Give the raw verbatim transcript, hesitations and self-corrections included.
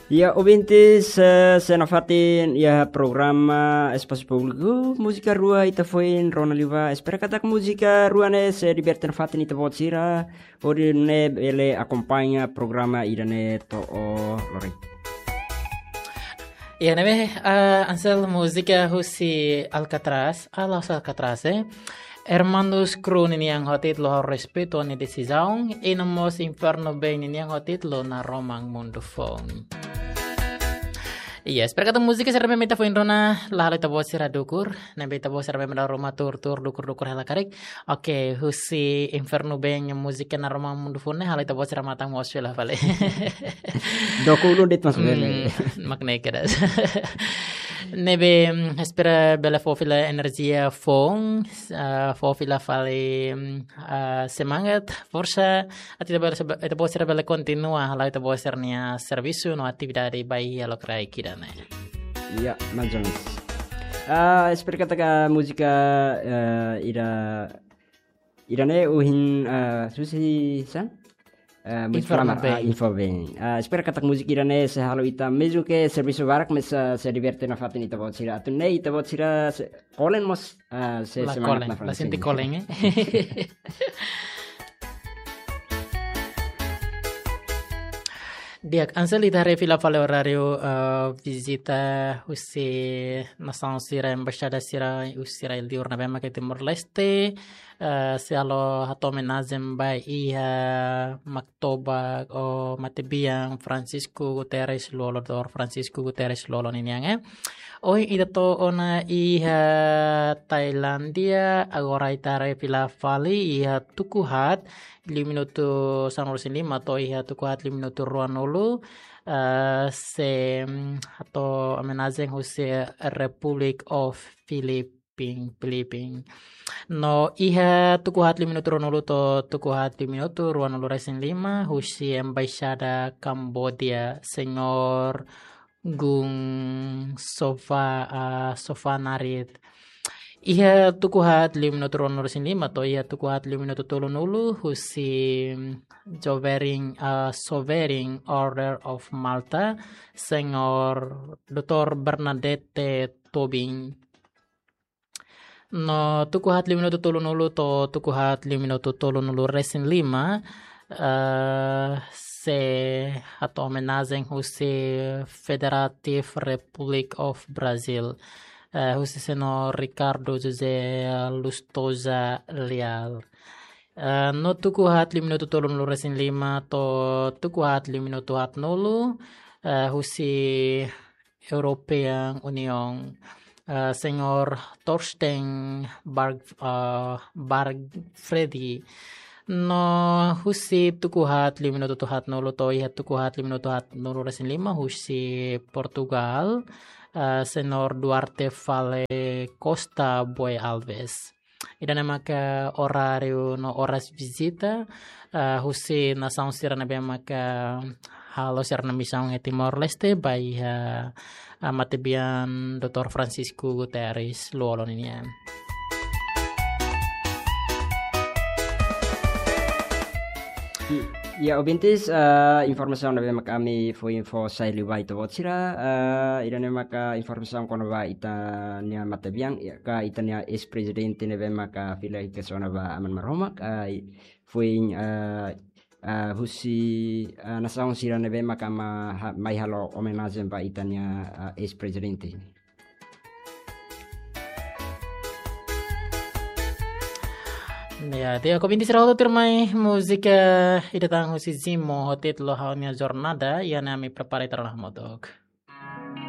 Ya, ouvintes, eh, sei nafatin iha programa Espasu Públiku, múzika rua ita foin rona liubá. Espera katak múzika rua ne'e sei diverte nafatin ita-boot sira, hodi nune'e bele akompaña programa ida-ne'e to'o lorokraik. Ya, ne'ebé, eh, Ansel, múzika husi Alcatraz, ah, la'ós Alcatraz, eh. Hermanos Crew ninian ho títulu Ha'u Respeito Nia Desizaun, i no mós Inferno Bem ninian ho títulu Naroman Mundu Foun. Iya, espera katak múzika sira ne'ebé mak ita foin rona la halo ita-boot sira dukur, ne'ebé ita-boot sira ne'ebé mak dala ruma tuur-tuur dukur-dukur hela karik. Oke, husi Inferno Bem múzika Naroman Mundu Foun ne'e halo ita-boot sira matan moos fila fali. Dook ulun de'it maibé bele. Hmm, mak ne'e kedas. Ne'ebé, mm, espera bele fó fila enerjia foun, ah, fó fila fali, mm, ah, semangat, forsa, atu ita bele, ita-boot sira bele kontinua hala'o ita-boot sira-nia servisu no atividade ba iha lokraik ida-ne'e. Iya, mais ou menos. Ah, espera katak múzika, eh, ida, ida-ne'e ohin, ah, husi sá? Eh, múzika Inferno pertama, ah, Bem. Inferno Bem. Ah, espera katak múzika ida-ne'e sei halo ita, mezmu ke servisu barak, mas, ah, sei diverte nafatin ita-boot sira. Atu nune'e ita-boot sira sei kolen mós, ah, sei La semangat kolen, nafatin la sente sira. Kolen, eh? Di'ak, Ansel, ita haree fila fali oráriu, eh, vizita husi nasaun sira, embaixada sira, husi rai-li'ur ne'ebé mak iha Timor-Leste, eh, sei halo hato'o omenajen ba iha Maktoba ou matebian Francisco Guterres Lú-Olo, Doutór Francisco Guterres Lú-Olo ninian, eh. Ohin ita to'o ona iha Tailándia, agora ita haree fila fali iha tuku haat, liu minutu sanulu-resin-lima to'o iha tuku haat liu minutu ruanulu, eh, sei, mm, hato'o omenajen husi Republic of Philippine, Philippine. No iha tuku haat liu minutu ruanulu to'o tuku haat liu minutu ruanulu-resin-lima, husi Embaixada Kambodia, Señór Gung Sova, ah, Sovanarit. Iha tuku haat liu minutu ruanulu-resin-lima to'o iha tuku haat liu minutu tolunulu, husi Sovereign, ah, Sovereign Order of Malta, Señór Doutór Bernadette Tobing. No tuku haat liu minutu tolunulu to'o tuku haat liu minutu tolunulu-resin-lima, eh, sei hato'o omenajen husi Federative Republic of Brazil, eh, husi Señór Ricardo José Lustosa Leal. Eh, no tuku haat liu minutu tolunulu-resin-lima to'o tuku haat liu minutu haatnulu, eh, husi European Union, eh, Señór Thorsten Barg-, eh, Bargfredi. No husi tuku haat liu minutu haatnulu to'o iha tuku haat liu minutu haatnulu-resin-lima, husi Portugal, eh, Señór Duarte Fale Costa Boy Alves. Ida-ne'e maka oráriu no oras vizita, eh, husi nasaun sira ne'ebé maka halo sira-nia misaun iha Timor-Leste, ba iha, eh, matebian Doutór Francisco Guterres Lú-Olo ninian. I-, ya, ouvintes, eh, informasaun ne'ebé maka ami fó info sai liu ba ita-boot sira, eh, ida-ne'e maka informasaun kona-ba ita-nia matebian, ya, ka ita-nia eis-prezidente ne'ebé maka fila hikas ona ba Aman Maromak, eh, i-, foin, eh, eh, husi, eh, nasaun sira ne'ebé maka ma-, ha-, mai halo omenajen ba ita-nia, eh, eis-prezidente. Ya, di'ak, ouvintes sira hotu, tuirmai múzika ida tan husi Zimo ho títulu Ha'u-nia Jornada, iha ne'e ami prepara ita-nia hamutuk.